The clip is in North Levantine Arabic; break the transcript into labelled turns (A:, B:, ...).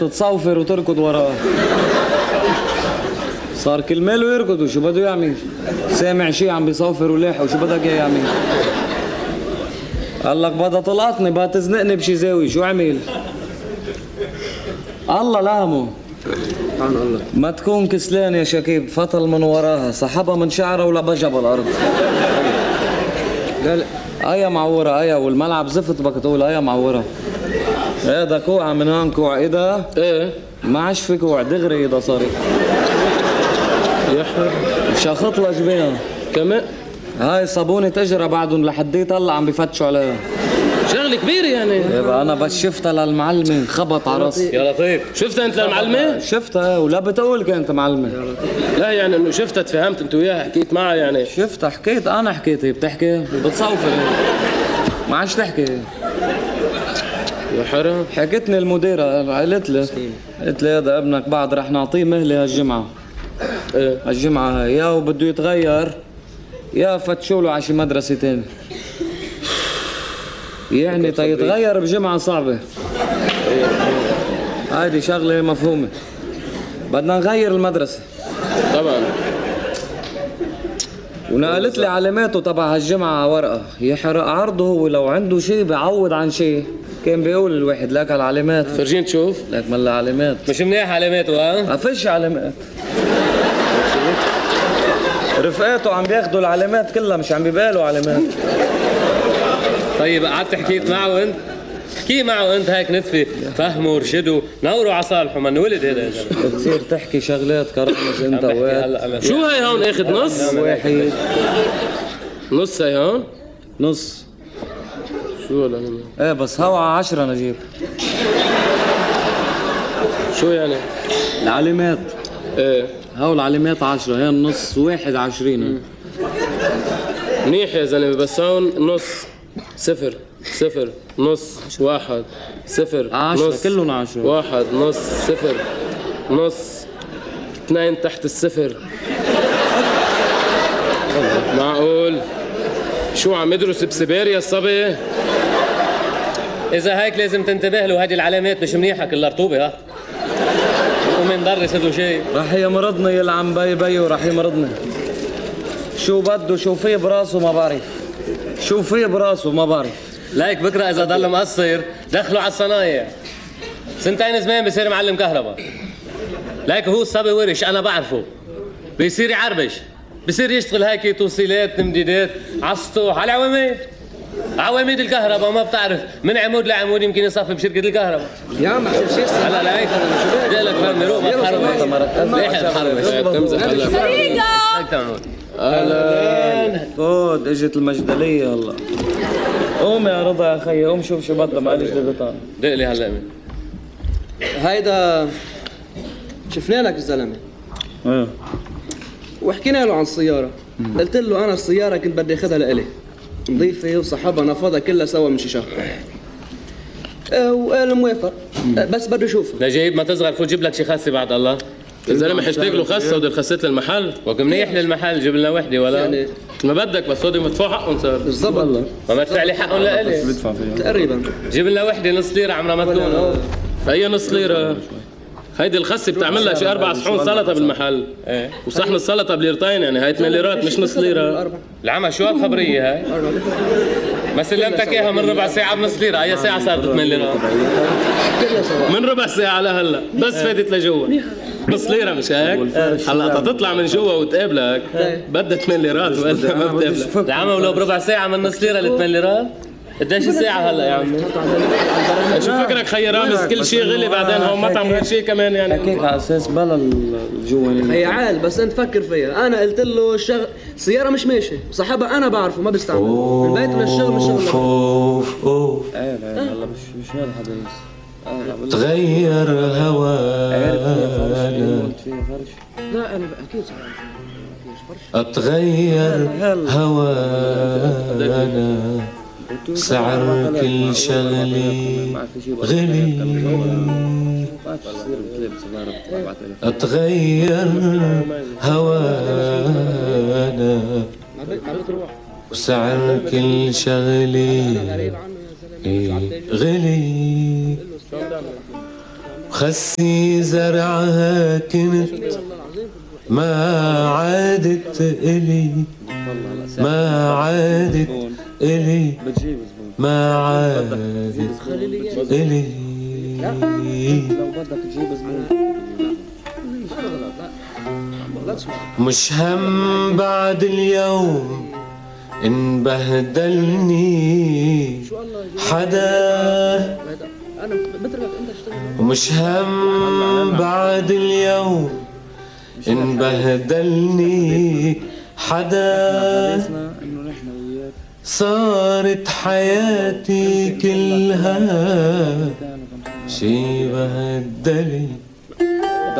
A: تتصوفر وتركض وراه. صار كل ماله يركض وشو بده يعمل؟ سامع شي عم بيصوفر ولاحق وشو بدك اياه يعمل؟ قال لك بدها طلقتني بدها تزنقني بشي زاوية، شو عمل؟ الله لامه.
B: سبحان الله.
A: ما تكون كسلان يا شكيب، فطل من وراها سحبها من شعرها ولبجها بالارض.
B: لا لا
A: ايا معورة ايا، والملعب زفت بدك تقول ايا معورة. هذا كوع من هون كوع ايدها؟
B: ايه
A: ما عادش في كوع دغري ايدها صارت.
B: يا حر
A: شخط لها جبينها.
B: كمان
A: هاي صابونة اجرى بعدهم لحديت هلا عم بفتشوا عليها.
B: شغلة كبيرة يعني.
A: يبقى انا بس شفتها للمعلمة خبط على راسي.
B: يا لطيف شفتها انت للمعلمة؟
A: شفتها ولا بتقول كانت معلمة.
B: لا يعني انه شفتها تفهمت انت وياها حكيت معها يعني.
A: شفتها حكيت انا حكيت، هي بتحكي بتصوفر ما عادش تحكي.
B: يا حرام.
A: حكتني المديرة قالت لي هذا ابنك بعد رح نعطيه مهلة هالجمعة.
B: ايه
A: هالجمعة هاي يا وبده يتغير يا فتشوا له على شي مدرسة تاني. يعني تيتغير بجمعة صعبة. هيدي شغلة مفهومة. بدنا نغير المدرسة.
B: طبعا.
A: ونقلت لي علاماته تبع هالجمعة على ورقة، يحرق عرضه هو لو عنده شيء بيعوض عن شيء. كان بيقول الواحد لك العلامات.
B: فرجين تشوف.
A: لك ملا علامات.
B: مش منيح علاماته ها؟
A: ما فيش علامات. رفقاته عم بياخدوا العلامات كلها مش عم بيبالوا علامات.
B: طيب قعدت حكيت معه انت؟ احكي معه انت هيك نتفي فهمه ورشده نوروا على صالحه ما انولد هذا.
A: بتصير تحكي شغلات كرامز انت وقت.
B: شو هي هون اخذ نص؟
A: واحد
B: نص هي هون؟
A: نص.
B: شو ولا
A: ايه بس هوا 10 نجيب.
B: شو يعني؟
A: العلامات
B: ايه
A: هو العلامات 10 هي النص واحد 20.
B: منيح يا زلمه بس هون نص صفر صفر نص واحد صفر
A: 10
B: نص
A: كلهم 10.
B: واحد نص صفر نص 2 تحت الصفر. معقول؟ شو عم يدرس بسيبيريا الصبي؟ إذا هيك لازم تنتبه له، هذه العلامات مش منيحة كلها رطوبة ها. ومن درس هدو شيء.
A: رح يمرضني يلعن بي بيو رح يمرضني. شو بده شو فيه براسه ما بعرف. شو فيه براسه ما بعرف.
B: لايك بكره إذا ضل مقصر دخلوا على الصنايع. 2 زمان بصير معلم كهرباء. لايك هو الصبي ورش أنا بعرفه. بيصير يعربش. بصير يشتغل هيك توصيلات تمديدات على السطوح على عواميد الكهرباء. ما بتعرف من عمود لعمود يمكن يصفي بشركة الكهرباء.
C: يا عم عشان شيء
B: هلا لا هيك بدي لك فهمني روح ما تحرمش. ليح تحرمش تمزح هلا.
A: اهلا فوت اجت المجدلية هلا. قوم يا رضا يا خيي قوم شوف شو بدها معلش لبطان.
B: دق لي هلا مين.
C: هيدا شفنا لك الزلمه
A: ايه
C: وحكينا له عن السياره. قلت له انا السياره كنت بدي اخذها لإلي نظيفه وصحبها نفضها كلها سوا من شي شهر. وقال موافق بس بده يشوفها.
B: نجيب ما تصغر فوت جيب لك شي خسه بعد الله. الزلمه حشتك له خسه ودي خسيت المحل وقت منيح للمحل جيب لنا وحده ولا
C: يعني
B: ما بدك بس هودي مدفوع حقهم صار.
C: بالضبط والله
B: ما مدفع لي حقهم لإلي.
C: تقريبا.
B: جيب لنا وحده نص ليره عمرها ما تكون. هي نص ليره. هيدي الخسه بتعمل لها شي 4 صحون سلطه بالمحل. ايه وصحن السلطه بليرتين يعني هاي 8 ليرات مش نص ليره. العمى شو هالخبريه هاي؟ ما سلمتك اياها من ربع ساعه بنص ليره، هي ساعه صارت 8 ليرات. من ربع ساعه لهلا بس فاتت لجوا. نص ليره مش هيك؟ هلا تطلع من جوا وتقابلك بدها 8 ليرات ولا ما بتقابلك. العمى ولو بربع ساعه من نص ليره ل 8 ليرات قديش الساعة هلا يا عمي؟ شو فكرك خي رامز كل شيء غلي بعدين هون مطعم غير شيء كمان يعني.
A: حكيك على اساس بلا الجوانين.
C: هي عال بس انت فكر فيها. انا قلت له السياره مش ماشيه صاحبها انا بعرفه ما بستعمل من بيت للشغل من الشغل.
A: ايه هلا مش هذا الحديث.
D: تغير هوانا.
C: لا انا اكيد
D: اتغير هوانا. سعر كل شغلي غلي. اتغير هوانا وسعر كل شغلي غلي. خسي زرعها كنت ما عادت إلي، ما عادت إلي، ما عادت إلي.
A: لو بدك تجيب زبون
D: مش هم بعد اليوم إن بهدلني حدا، ومش هم بعد اليوم إن بهدلني حدا. صارت حياتي كلها شي بهدلي